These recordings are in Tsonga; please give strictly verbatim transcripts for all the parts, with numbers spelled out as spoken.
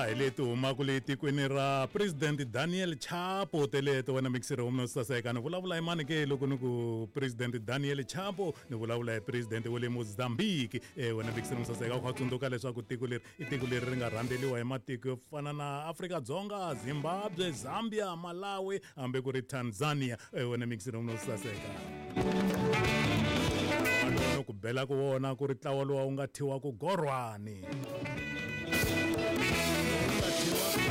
Ya hi leti humaka le tikweni ra President Daniel Chapo teleto wena mixere wa saseka ni vulavula hi mani ke loko ni ku President Daniel Chapo ni vulavula hi President wa le Mozambique eh wena mixere wa saseka u kha tsundzuka leswaku tiko leri i tiko leri ri nga rhandzeliwa hi matiko yo fana na Afrika Dzonga, Zimbabwe, Zambia, Malawi hambi ku ri Tanzania eh wena mixere wa saseka ku bela ku wona ku ri ntlawa lowu nga thyiwa ku gorwani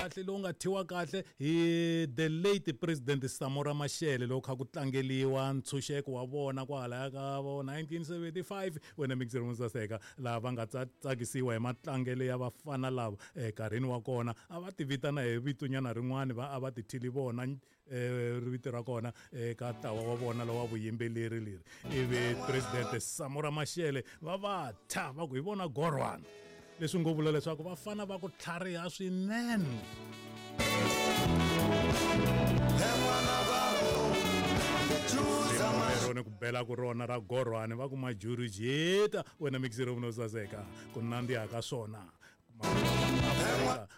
kahle lowu nga thyiwa kahle hi the late President Samora Machel loko kha ku tlangeliwa ntshunxeko wa vona kwalaya ka vo nineteen seventy-five wena mixere wa saseka laha va nga tsakisiwa hi matlangelo ya vafana lava enkarhini wa kona a va ti vitana hi vitonyana rin'wana va a va ti thili vona vito ra kona eka ntlawa wa vona lowa vuyimbeleri leri ivi President Samora Machel va va thya va ku hi vona gorwana leswi ngo vula leswaku vafana va ku tlhariha swinene rona ku bela ku rona ra gorwani va ku majurujeta wena mixere wa saseka ku nandziha ka swona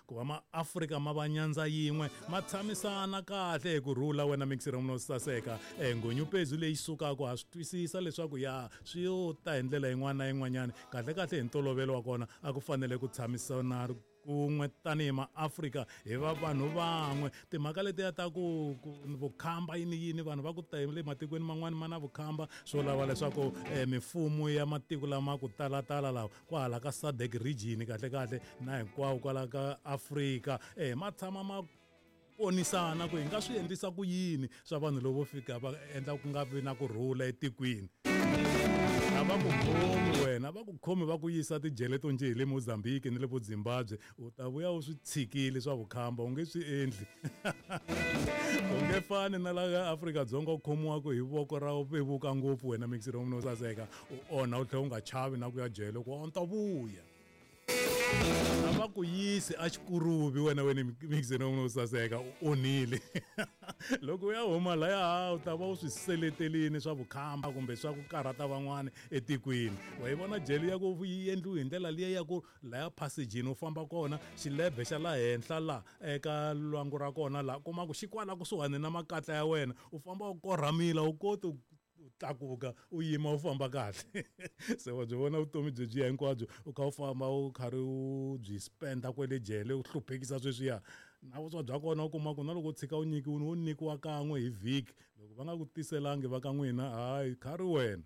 ku va maAfrika ma va nyandza yin'we ma tshamisana kahle hi ku rhula wena mixere wa saseka ngonyupezu leyi sukaka ha swi twisisa leswaku ya swi yo ta hi ndlela yin'wana na yin'wanyana kahle kahle hi ntolovelo wa kona a ku fanele ku tshamisana kun'we tanihi maAfrika hi va vanhu van'we timhaka letiya ta ku vukhamba yini yini vanhu va ku ta le matikweni man'wani ma na vukhamba swo lava leswaku mifumo ya matiko lama ku talatala lawa kwahala ka S A D C region kahle kahle na hinkwawo kwala ka Afrika eh ma tshama ma ponisana ku hi nga swi endlisa ku yini swa vanhu lovo fika va endla ku nga vi na ku rhula etikweni a va ku khomi wena va ku khomi va ku yisa tijele to njhe hi le Mozambique ni le vo Zimbabwe u ta vuya u swi tshikile swa vukhamba u nge swi endli u nge fani na la Afrika Dzonga u khomiwaka hi voko ra vevuka ngopfu wena mixere wa saseka u onha u tlhela u nga chavi na ku ya jele ku a ta vuya a va ku yisi a xikuruvi wena wena mixere wa saseka u onhile loko u ya huma laya u ta va u swi seletelini swa vukhamba kumbe swa ku karhata van'wana etikweni wa yi vona jele ya ku yi endliwe hi ndlela liya ya ku laya phasejini u famba kona xilebhe xa la henhla la eka lwangu ra kona la kuma ku xi kwala kusuhani na makatla ya wena u famba u korhamile u koti u tlakuka u yima u famba kahle se wa byi vona vutomi byi byi hinkwabyo u kha u famba u karhi u byi spenda kwele jele u hluphekisa sweswiya na vuswa bya kona u kuma ku na loko u tshika u nyikiwini wo nyikiwa kan'we hi vhiki loko va nga ku tiselangi va ka n'wina hayi khari wena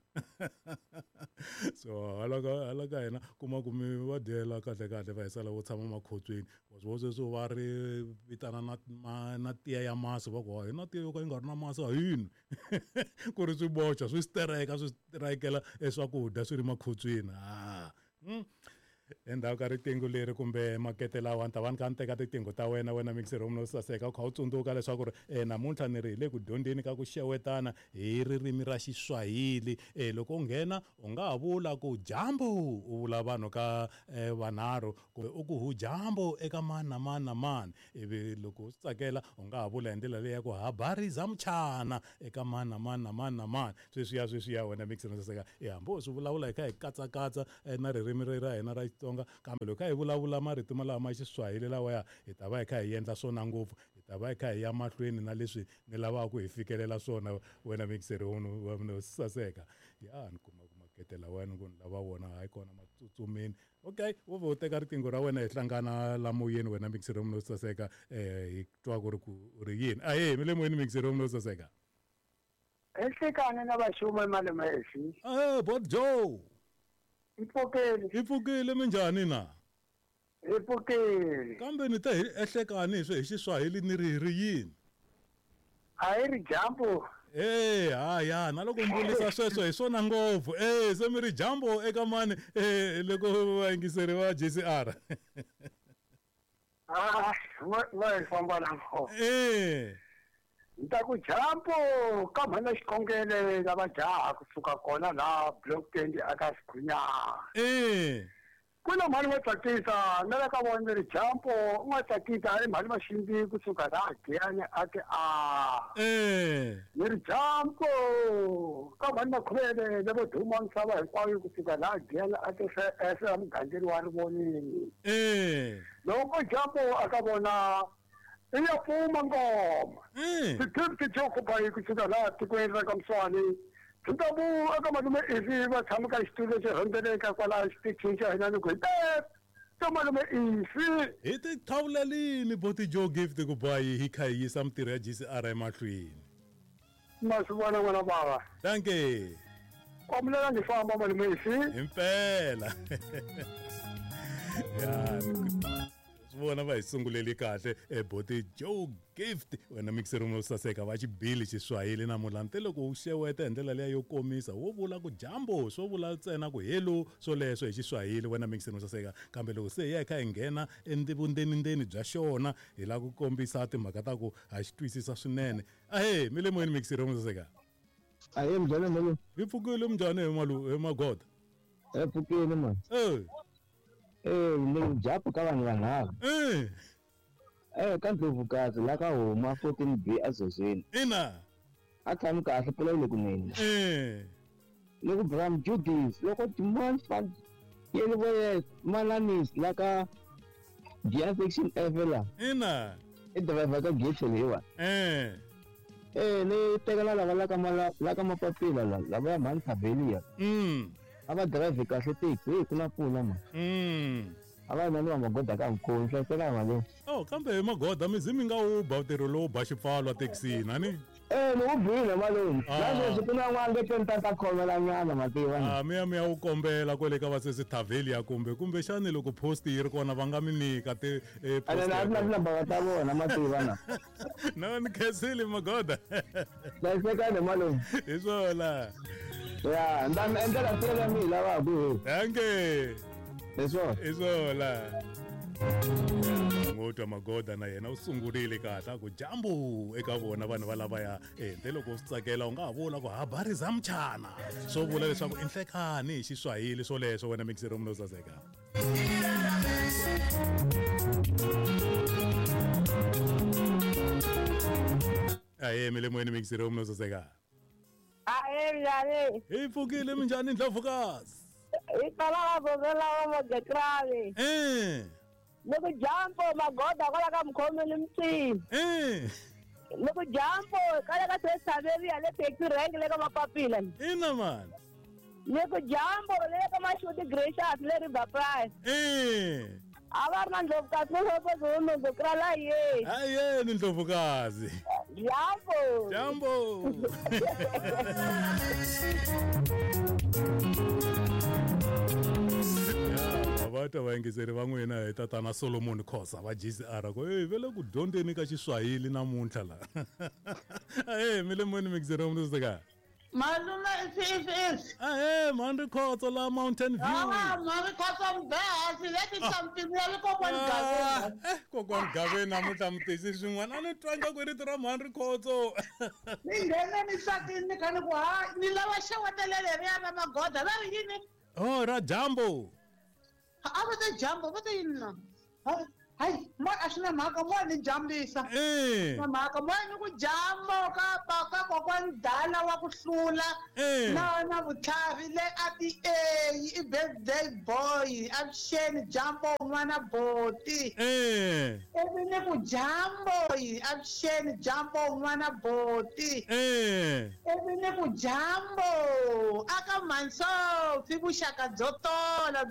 so hala ka hala ka hina kuma ku mi va dyela kahle kahle va hisela vo tshama makhotsweni wa swi vona sweswo va ri vitana na na, na tiya ya masi va ku hi na tiya yo ka yi nga ri na masi a yini ku ri swi boxa swi stereka swi strikela eswakudya swi ri makhotsweni ah mm. Endzhaku ka riqingho leri kumbe makete lawa ni ta va ni kha ni teka tiqingho ta wena wena mixere wa saseka u kha u tsundzuka leswaku ri eh, namuntlha ni ri hi le ku dyondzeni ka ku xewetana hi ririmi ra Xiswahili eh, loko u nghena u nga ha vula ku jambo u vula vanhu ka eh, vanharhu kumbe u ku hu jambo eka mani na mani na mani ivi loko u swi tsakela u nga ha vula hi ndlela leyi ya ku habari za mchana eka mani na mani na mani na mani sweswiya sweswiya wena mixere wa saseka eh, hambi u swi vulavula hi kha hi katsakatsa eh, na ririmi ra hina ra Xitsonga kambe loko hi vulavula marito malawa ma Xiswahili lawaya hi ta va hi kha hi endla swona ngopfu hi ta va hi kha hi ya mahlweni na leswi ni lavaka ku hi fikelela swona wena mixere wa saseka ya ni kuma ku makete lawa ni ku ni lava wona hayi kona matsutsumeni okay wo vo teka riqingho ra wena hi hlangana la moyeni wena mixere wa saseka eh hi twa ku ri ku ri yini ahe mi le moyeni mixere wa saseka enhlekani na vaxuma malume esi eh bot Joe Ipfukile. Ipfukile minjhani na? Ipfukile. Kambe ni ta hi ehlekani hi swi hi Xiswahili ni ri ri yini? A hi ri jambo. Eh haya na loko mbulisa sweswo hi swona ngopfu. Eh se mi ri jambo eka mani eh loko vayingiseri va J C R. Ah, va famba na ko. Eh Nta ku jambo ka mhana xikhongele lava jaha kusuka kona la block twenty aka Sikhunyana. Eh. Ku na mhani va tsakisa na le ka vona ni ri jampo u nga tsakisa i mhani maxindi kusuka laha Giyani a ti a Eh. ni ri jampo ka mhani Makhuvele le vo duma misava hinkwayo kusuka laha Giyani a ti se mugangeri wa Rivonini. Eh. Loko jampo a ka vona i ya pfuma ngoma. Eh. Ti-gift jo kusuka laha tikweni ra ka Mswani. Tutabu aka malume ivi va tshama ka xitulu lexi rhendzeleka kwalaha xitichini xa hina ni ku hi ka malume ivi Hi ti thawulelini boti Joe Gift ku bayi hi kha hi yisa mitirho ya G C R emahlweni. Ma swi vona n'wana bava. Dankie. Kombela ndzi famba malume ivi. Himpela. Ya, swi vona va hi sunguleli kahle e boti Joe Gift wena mixer room saseka va xibili xiswahili namuntlha nte loko u xeweta hi ndlela leya yo komisa wo vula ku jambo swo vula ntsena ku hello swoleswo hi xiswahili wena mixer room saseka kambe loko se hi ya hi kha hi nghena endivundenindeni bya xona hi lava ku kombisa timhaka ta ku ha xi twisisa swinene. Ahee mi le moyeni mixer room saseka. Ahee mjhani malume. Hi pfukile mjhani hi malu hi magoda. Hi pfukile mani. Eh. Eh, ni japu ka vanhu vanharhu. Eh. Eh, ka Ndlovukazi la ka huma fourteen B azozweni. Ina. A tshami kahle phela le kunene. Eh. Ni ku Bram Judith loko Timon Fund yele voye Malanis la ka Gia section F la. Ina. I driver ka gate leyiwa. Eh. Eh, ni tekela lava la ka mala la ka mapapila la lava ya mhani Thabelia. Mm. A va drive kahle taxi hi ku na pfuna ma. Mm. A va na ni magoda ka mkhulu hlayiseka mali. Oh, kambe hi magoda mi zi mi nga wu ba ntirho lowu ba xipfalo taxini ani? Eh, ni wu bile malume. La sweswi ku na n'wana nge ta ta khomela nyana mativa. Ah, mi ya mi ya wu kombela kwale ka vasesi Thabelia kumbe kumbe xani loko post yi ri kona va nga mi nyika ti eh post. Ana na na ba ta vona mativa na. No ni khensile magoda. Hlayiseka ni malume. Hi swona. Ya, ndami endlela sele mi lava ku. Dankie. Leswo. Hi swona. Ngotwa magoda na yena u sungurile kahle a ku jambo eka vona vanhu va lava ya eh nte loko u swi tsakela u nga ha vula ku habari za mchana swo vula leswaku i nhlekani hi xiswahili swoleswo wena mixer room no saseka. Aye mi le moyeni mixer room no saseka. Aye mjhani. Hi pfukile minjhani Ndlovukazi? Hi tala va la va Gekrave. Eh. Loko jambo magoda kwala ka mkhomo ni mtsini. Eh. Loko jambo kala ka Thabelia le taxi rank le ka mapapila. Ina man. Loko jambo le ka Mashuti Gracious le River Price. Eh. A va ri na Ndlovukazi no swo no Ndlovukrala ye. Aye ni Ndlovukazi. Jambo. Jambo. Va vayingiseri va n'wina hi tatana Solomon Khosa va G C R ku hey ve le ku dyondzeni ka xiswahili namuntlha la. Ahee mi le moyeni mixer room saseka. Malume if if if. Ahee mhani Rikhotso la Mountain View. Ah, mhani Rikhotso mbehasi leti something ya le kokwani Gaveni. Eh, kokwani Gaveni namuntlha mi tisi swin'wana a ni twanga ku rito ra mhani Rikhotso. Ni nghene ni tsakile ni kha ni ku ha ni lava xewetele leriya ra magoda va ri yini? Oh, ra jambo. A va te jambo va te yini na? Hayi, mo a swi na mhaka mo ni jambisa. Eh. Na mhaka mo ni ku jambo ka ka kokwani Dala wa ku hlula. Na na vutlhari le a ti A i birthday boy avuxeni jambo n'wana boti. Eh. Ivi ni ku jambo avuxeni jambo n'wana boti. Eh. Ivi ni ku jambo aka Mansofi vuxaka byo tola.